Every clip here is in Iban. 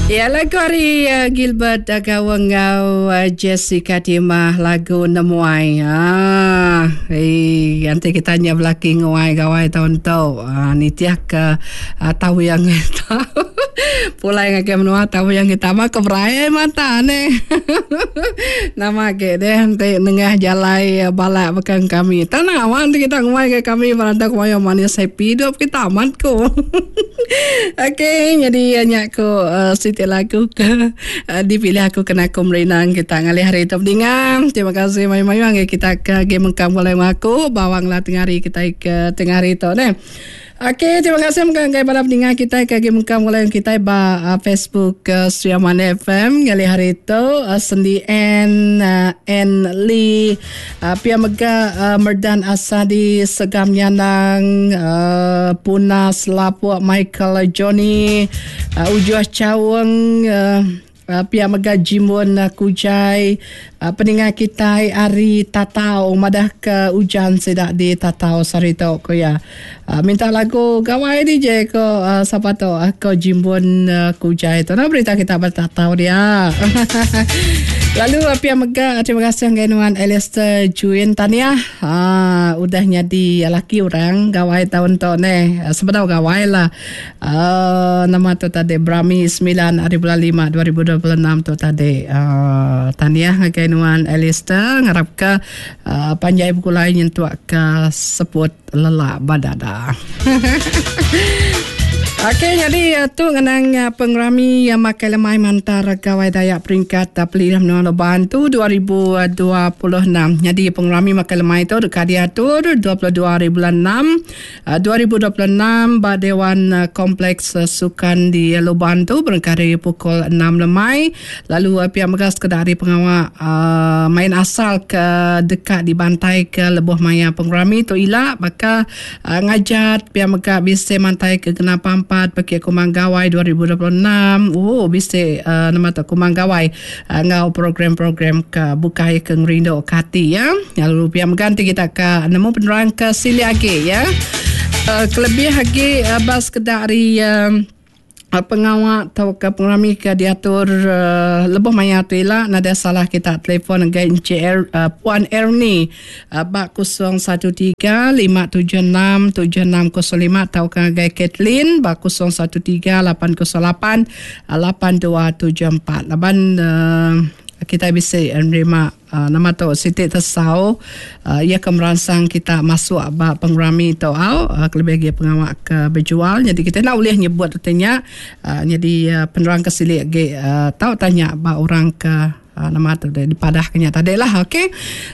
Ya lagu ari uh, Gilbert uh, Gawang enggau uh, Jessica Timah lagu Nemuai. Ah, eh nanti kita nya belaki nguai gawai taun tu. Ah, nitih ke uh, tau yang kita. Pulai ngagai menua tau yang kita mah ke berai mata ne. Nama agi deh enti nengah jalai balak baka kami. Tanah awan ti kita nguai ke kami berantau ke mayuh manis happy hidup kita amat ku. Okey nyadi nya ku uh, siti lagu ke uh, dipilih aku kena aku merindang kita ngalih hari tu bedinga. Terima kasih mayuh-mayuh ngagai kita ke agi mengkang pulai enggau aku bawang lah tengah hari kita ke tengah hari tu neh. Okey, terima kasih mega ngagai bala peninga kitai ke agi mengkang begulai enggau kitai ba uh, Facebook uh, Sri Aman FM ngalih hari tu uh, Sendi N uh, N Lee uh, pia mega uh, Merdan Asadi Segam Nyanang uh, Puna Selapuk Michael Johnny uh, Ujuh Chaung uh, Pia mega Jimbun Kujai peninga kitai ari Tatau madah ke ujan sida di Tatau sehari tu ku iya. Minta lagu gawai DJ ko sapa tu ko Jimbun Kujai tu. Nama berita kita ba Tatau dia. Lalu pia mega terima kasih ngagai nuan Alistair Juin Tahniah udah nyadi laki orang gawai taun tu neh. Sebedau gawai lah. Uh, nama tu tadi Brami 9 hari bulan 5 2026 tu tadi. Uh, tahniah ngagai nuan Alistair ngarap ke uh, panjai begulai nyentuk ke seput lelak badada. Okey, jadi eh, tu ngenang eh, pengerami yang makai lemai mantar Gawai Dayak peringkat eh, Pelilih Menua Luban tu 2026. Jadi pengerami makai lemai tu deka diatur 22 hari bulan 6 2026 ba Dewan Kompleks Sukan di Luban tu berengkah ari pukul enam lemai lalu pia mega sekeda ari pengawa main asal ke deka dibantaika lebuh maya pengerami tu ila baka ngajat pia mega bisi mantaika genap pampat pekit Kumang Gawai 2026 ooh bisi nama tu Kumang Gawai enggau program-program ke bukai ke ngerindu ke ati ya. Lalu pia mega enti kita ka nemu penerang ke silik agi ya. Uh, kelebih agi uh, ba sekeda ari uh, pengawa tauka pengerami ke diatur uh, lebuh maya tu ila nadai salah kita telefon ngagai Encik er, uh, Puan Ernie Ba 013 576 7605 tauka ngagai Kathleen ba 013 808 8274. Laban uh, kita bisi nerima uh, nama tu siti tesau uh, ia ke meransang kita masuk ba pengerami tu au uh, kelebih lagi pengawa ke bejual jadi kita enda ulih nyebut reti nya uh, jadi uh, penerang ke silik agi uh, tau tanya ba orang ke Nama tu deh dipadah ke nya tadi lah okey.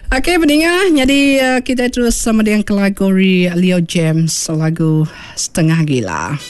Okey peninga nyadi kita terus sama dengan ke lagu Leo James lagu Setengah Gila.